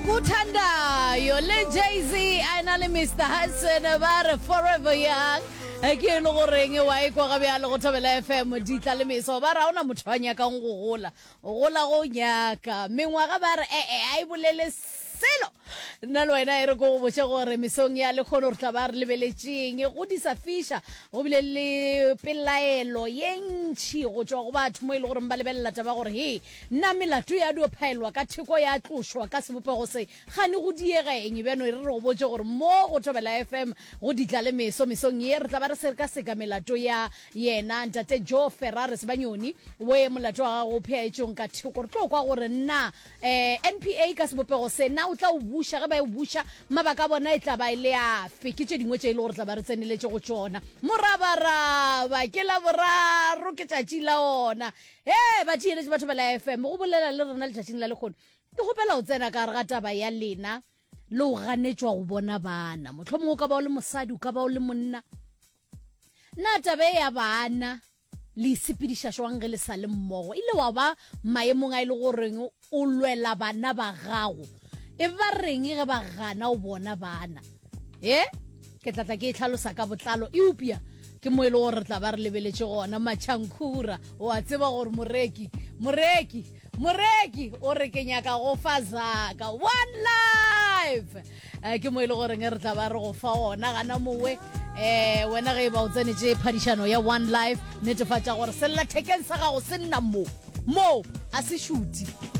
Okuthandayo le Jay-Z a ena le Mr Hudson ba re Forever Young Eh, ke e le goreng wa e kwa ga bjale go Thobela FM ditla le meso ba re ga ona motho a nyakang go gola gola go nyaka mengwaga ba re ee a e bolele selo nna le wena e re ko go botše gore mesong ya lekgono re tla ba re lebeletšeng go di sa fiša go bile le pelaelo ye ntšhi go tšwa go batho mo e le goreng ba lebelela taba gore he na melato ya dio phaelwa ka theko ya tlošwa ka sebopego se gane go diega eng bjano e re re go botše gore mo go Thobela FM go ditla le meso mesong ye re tla ba re sekaseka melato ya yena ntate Joe Ferrari Sebanyoni we molato wa gago o pheaetšong ka theko re tlo kwa gore na Eh, NPA ka sebopego se, na o tla o buša? Ge ba e o buša, mabaka a bona e tla ba e le afe? Ke tše dingwe tše e le gore tla ba re tseneletše go tšona. Morabaraba, ke Laboraro, ke tšatši la ona. He, ba theeletše batho ba la FM, go bolela le rena letšatšing la lekgono. Ke kgopela go tsena ka gare ga taba ya lena le go ganetšwa go bona bana. Mohlomongwe o ka ba o le mosadi, o ka ba o le monna. Na taba e ya bana le e sepediša jwang ge le sa le mmogo? Ile wa ba maemong a e le goreng o lwela bana ba gago. E ba reng ge ba gana o bona bana? E ke tla tla ke e tlhalosa ka botlalo, eupša ke mo e le gore re tla ba re lebeletše gona. Matšhankhura, o a tseba gore moreki, moreki, moreki o re ke nyaka go fa zaka one life. Eh, ke mo e le goreng re tla ba re go fa ona gana mowe um wena ge e ba o tsenetše phadišano ya one life netefatša gore sellathekeng sa gago se nna mo moo a se šuti.